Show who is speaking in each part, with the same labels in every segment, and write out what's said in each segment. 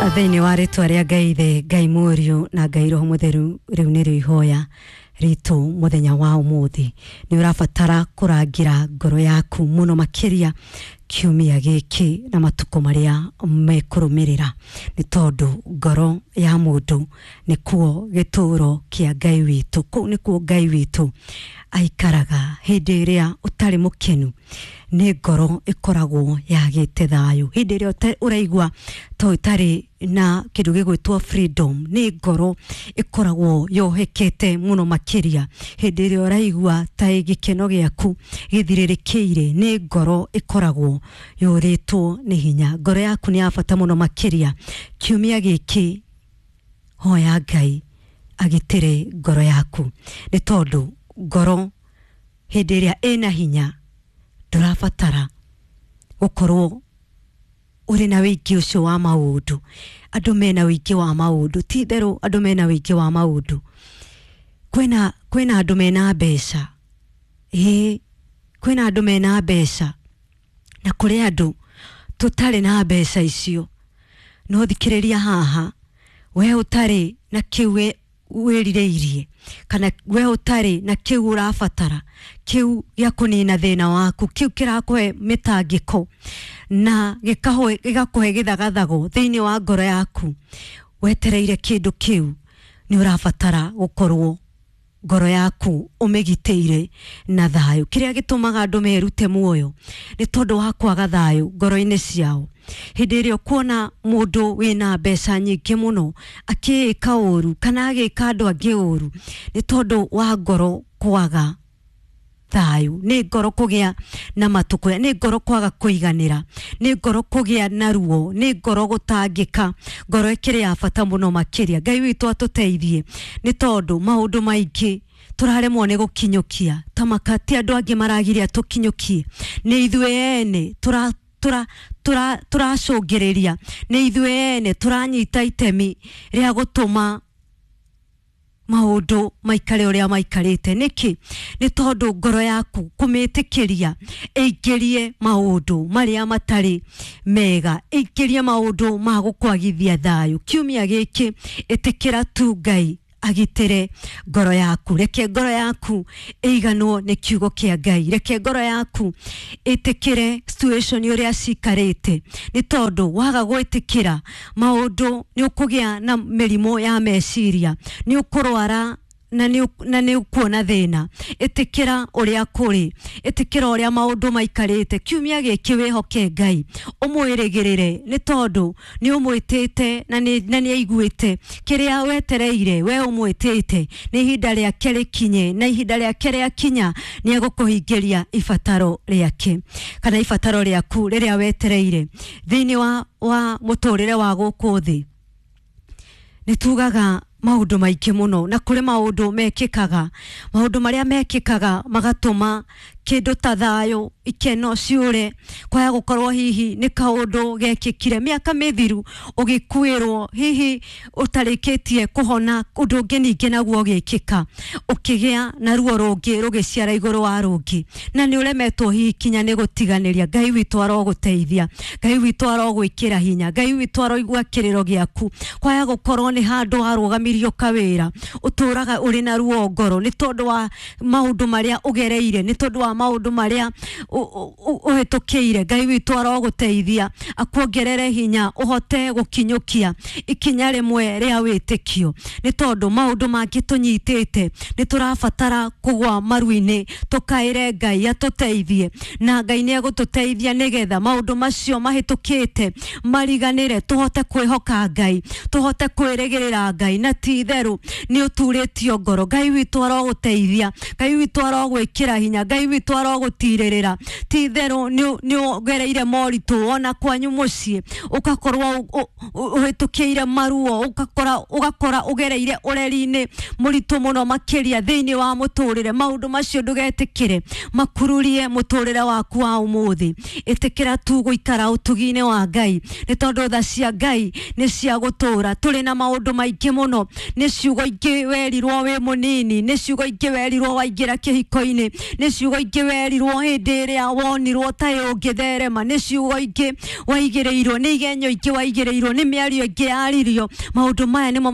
Speaker 1: Thĩinĩ wa rĩtwa rĩa Ngai Ithe, Ngai Mũriũ na Ngai Roho Mũtheru, rĩu nĩrĩo ihoya ritũ mũthenya wa ũmũthĩ. Nĩ ũrabatara kũrangĩra ngoro yaku mũno makĩria kiumia gĩkĩ na matukũ marĩa mekũrũmĩrĩra, nĩ tondũ ngoro ya mũndũ nĩkuo gĩtũũro kĩa Ngai witũ. Kũu nĩkuo Ngai witũ aikaraga. Hĩndĩ ĩrĩa ũtarĩ mũkenu nĩ ngoro ĩkoragwo yagĩte thayũ. Hĩndĩ ĩrĩa ũraigua ta ũtarĩ na kĩndũ gĩgwĩtwo freedom, nĩ ngoro ĩkoragwo yohekete mũno makĩria. Hĩndĩ ĩrĩa ũraigua ta gĩkeno gĩaku gĩthirĩrĩkĩire, nĩ ngoro ĩkoragwo yũrĩtwo nĩ hinya. Ngoro yaku nĩ ya bata mũno makĩria. Kiumia gĩkĩ hoya Ngai agitĩre ngoro yaku, nĩ tondũ ngoro hĩndĩ ĩrĩa ĩna hinya ndũrabatara gũkorwo ũrĩ na wĩingĩ ũcio wa maũndũ. Andũ mena wĩingĩ wa maũndũ, ti itherũ andũ mena wĩingĩ wa maũndũ. Kwĩna andũ mena mbeca, ĩĩ kwĩna andũ mena mbeca na kũrĩ andũ tũtarĩ na mbeca icio. No thikĩrĩria haha, we ũtarĩ na kĩu wĩrirĩirie kana we ũtarĩ na kĩu ũrabatara, kĩu gĩa kũnina thĩna waku, kĩu kĩrakũhe mĩtangĩko na gĩgakũhe gĩthagathago thĩinĩ wa ngoro yaku, wetereire kĩndũ kĩu, nĩ ũrabatara gũkorwo ngoro yaku ũmĩgitĩire na thayũ. Kĩrĩa gĩtũmaga andũ merute muoyo nĩ tondũ wa kwaga thayũ ngoro-inĩ ciao. Hĩndĩ ĩrĩa ũkuona mũndũ wĩna mbeca nyingĩ mũno akĩĩka ũru kana agĩka andũ angĩ ũru, nĩ tondũ wa ngoro kwaga thayũ, nĩ ngoro kũgĩa na matũkũya, nĩ ngoro kwaga kũiganĩra, nĩ ngoro kũgĩa na ruo, nĩ ngoro gũtangĩka. Ngoro ĩkĩrĩ ya bata mũno makĩria. Ngai witũ atũteithie, nĩ tondũ maũndũ maingĩ tũraremwo nĩ gũkinyũkia, ta maka ti andũ angĩ maragiria tũkinyũkie, nĩ ithuĩ ene tũracũngĩrĩria, nĩ ithuĩ ene tũranyita itemi rĩa gũtũma maũndũ maikare ũrĩa maikarĩte. Nĩkĩ? Nĩ tondũ ngoro yaku kũmĩtĩkĩria ĩingĩrie maũndũ marĩa matarĩ mega, ĩingĩrie maũndũ ma gũkwagithia thayũ. Kiumia gĩkĩ ĩtĩkĩra tu Ngai agitĩre ngoro yaku. Reke ngoro yaku ĩiganwo nĩ kiugo kĩa Ngai. Reke ngoro yaku ĩtĩkĩre situation ũrĩa cikarĩte, nĩ tondũ waga gwĩtĩkĩra maũndũ nĩ ũkũgĩa na mĩrimũ ya meciria, nĩ ũkũrwara na nĩ ũkuona thĩna. Ĩtĩkĩra ũrĩa kũrĩ, ĩtĩkĩra ũrĩa maũndũ maikarĩte. Kiumia gĩkĩ wĩhoke Ngai, ũmwĩrĩgĩrĩre, nĩ tondũ nĩ ũmwĩtĩte na nĩ aiguĩte kĩrĩa wetereire. We ũmwĩtĩte, nĩ ihinda rĩake rĩkinye, na ihinda rĩake rĩakinya nĩ egũkũhingĩria ibataro rĩake kana ibataro rĩaku rĩrĩa wetereire. Thĩinĩ wa mũtũrĩre wa gũkũ thĩ nĩ tugaga maũndũ maingĩ mũno, na kũrĩ maũndũ mekĩkaga, maũndũ marĩa mekĩkaga magatũma kĩndũ ta thayũ, ikeno ciũre, kwaya gũkorwo hihi nĩ kaũndũ gekĩkire mĩaka mĩthiru ũgĩkuĩrwo, hihi ũtarĩkĩtie kũhona, ũndũ ũngĩ ningĩ naguo ũgĩkĩka, ũkĩgĩa na ruo rũngĩ rũgĩciara igũrũ wa rũngĩ, na nĩ ũremetwo hihi kinya nĩ gũtiganĩria. Ngai witũ arogũteithia, Ngai witũ arogwĩkĩra hinya, Ngai witũ aroigua kĩrĩro gĩaku. Kwaya gũkorwo nĩ handũ warũgamirio kawĩra, ũtũraga ũrĩ na ruo ngoro nĩ tondũ wa maũndũ marĩa ũgereire, nĩ tondũ wa maũndũ marĩa ũhĩtũkĩire. Ngai witũ arogũteithia, akuongerere hinya ũhote gũkinyũkia ikinya rĩmwe rĩa wĩtĩkio, nĩ tondũ maũndũ mangĩ tũnyitĩte nĩ tũrabatara kũgwa maru-inĩ tũkaĩre Ngai atũteithie, na Ngai nĩ egũtũteithia nĩgetha maũndũ macio mahĩtũkĩte mariganĩre, tũhote kwĩhoka Ngai, tũhote kwĩrĩgĩrĩra Ngai, na ti itherũ nĩ ũturĩtio ngoro. Ngai witũ arogũteithia, Ngai witũ arogwĩkĩra hinya, Ngai witũ arogũtirĩrĩra. Ti itherũ nĩ ũgereire moritũ ona kwanyu mũciĩ, ũgakorwo ũhĩtũkĩire maruo, ũgakora ũgereire ũreri-inĩ mũritũ mũno makĩria thĩinĩ wa mũtũrĩre. Maũndũ macio ndũgetĩkĩre makururie mũtũrĩre waku wa ũmũthĩ. Ĩtĩkĩra tu gũikara ũtugi-inĩ wa Ngai, nĩ tondũ tha cia Ngai nĩ cia gũtũra. Tũrĩ na maũndũ maingĩ mũno, nĩ ciugo ingĩ werirwo wĩ mũnini, nĩ ciugo ingĩ werirwo waingĩra kĩhiko-inĩ, nĩ ciugo ingĩ werirwo hĩndĩ ĩrĩa wonirwo ta ũngĩtherema, nĩ ciugo ingĩ waigĩrĩirwo, nĩ igenyo ingĩ waigĩrĩirwo, nĩ mĩario ĩngĩ yaririo. Maũndũ maya nĩmo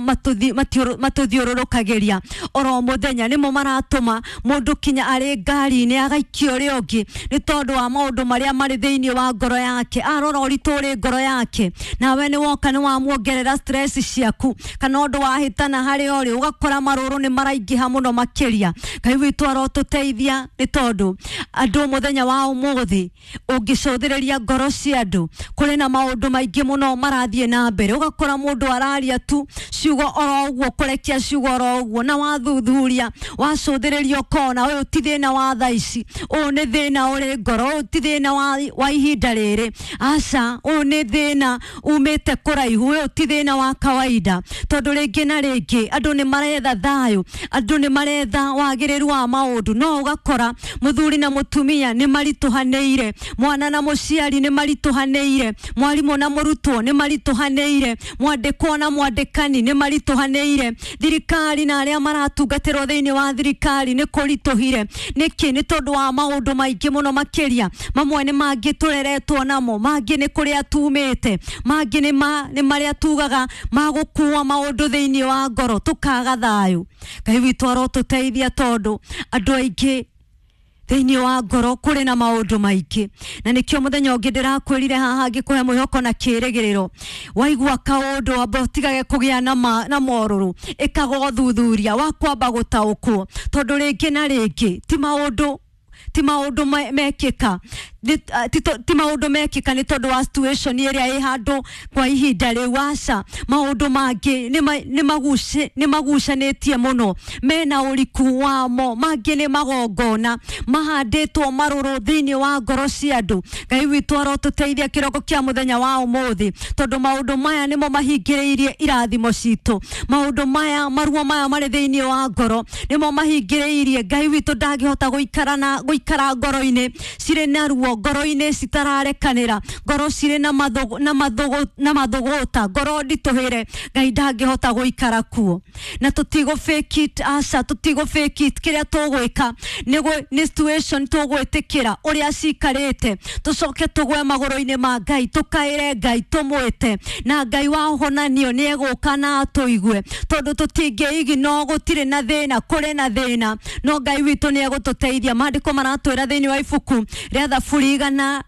Speaker 1: matũthiũrũrũkagĩria oro mũthenya, nĩmo maratũma mũndũ kinya arĩ ngari-inĩ agaikio ũrĩa ũngĩ nĩ tondũ wa maũndũ marĩa marĩ thĩinĩ wa ngoro yake. Arora ũritũ ũrĩ ngoro yake, nawe nĩ woka nĩ wamuongerera stress ciaku, kana ũndũ wahĩtana harĩa ũrĩ, ũgakora marũrũ nĩ maraingĩha mũno makĩria. Ngai witũ arotũteithia, nĩ tondũ andũ mũthenya wa ũmũthĩ ũngĩcũthĩrĩria ngoro cia andũ, kũrĩ na maũndũ maingĩ mũno marathiĩ na mbere. Ũgakora mũndũ araria tu ciugo oro ũguo, kũrekia ciugo oro ũguo, na wathuthuria wacũthĩrĩria ũkona ũyũ ti thĩna wa thaa ici, ũyũ nĩ thĩna ũrĩ ngoro, ũyũ ti thĩna wa ihinda rĩrĩ, aca, ũyũ nĩ thĩna umĩte kũraihu, ũyũ ti thĩna wa kawaida. Tondũ rĩngĩ na rĩngĩ andũ nĩ maretha thayũ, andũ nĩ maretha wagĩrĩru wa maũndũ, no ũgakora mũthuri na mũtumia nĩ maritũhanĩire, mwana na mũciari nĩ maritũhanĩire, mwarimũ na mũrutwo nĩ maritũhanĩire, mwandĩkwo na mwandĩkani nĩ maritũhanĩire, thirikari na arĩa maratungatĩrwo thĩinĩ wa thirikari nĩ kũritũhire. Nĩkĩ? Nĩ tondũ wa maũndũ maingĩ mũno makĩria. Mamwe nĩ mangĩ tũreretwo namo, mangĩ nĩ kũrĩa tumĩte, mangĩ nĩ marĩa tugaga magũkua maũndũ thĩinĩ wa ngoro tũkaga thayũ. Ngai witũ arotũteithia, tondũ andũ aingĩ thĩinĩ wa ngoro kũrĩ na maũndũ maingĩ, na nĩkĩo mũthenya ũngĩ ndĩrakwĩrire haha ngĩkũhe mwĩhoko na kĩĩrĩgĩrĩro. Waigua kaũndũ amba ũtigage kũgĩa na morũrũ, ĩkaga ũthuthuria wa kwamba gũtaũkwo, tondũ rĩngĩ na rĩngĩ ti maũndũ mekĩka, ti maũndũ mekĩka nĩ tondũ wa situation ĩrĩa ĩ handũ kwa ihinda rĩu, aca. Maũndũ mangĩ nĩ magucanĩtie mũno, mena ũriku wamo, mangĩ nĩ magongona mahandĩtwo marũrũ thĩinĩ wa ngoro cia andũ. Ngai witũ arotũteithia kĩroko kĩa mũthenya wa ũmũthĩ, tondũ maũndũ maya nĩmo mahingĩrĩirie irathimo citũ. Maũndũ maya, maruo maya marĩ thĩinĩ wa ngoro nĩmo mahingĩrĩirie. Ngai witũ ndangĩhota gũikara na gũikara ngoro-inĩ cirĩ na ruo, ngoro-inĩ citararekanĩra, ngoro cirĩ na mathũgũta, ngoro nditũhĩre. Ngai ndangĩhota gũikara kuo. Na tũtigũ fake it, aca, tũtigũ fake it. Kĩrĩa tũgwĩka nĩ situation tũgwĩtĩkĩra ũrĩa cikarĩte, tũcoke tũgwe magũrũ-inĩ ma Ngai, tũkaĩre Ngai, tũmwĩte, na Ngai wa ũhonanio nĩ egũka na atũigue, tondũ tũtingĩigi no gũtirĩ na thĩna, kũrĩ na thĩna, no Ngai witũ nĩ egũtũteithia. Maandĩko maratwĩra thĩinĩ wa ibuku rĩa Thaburi 100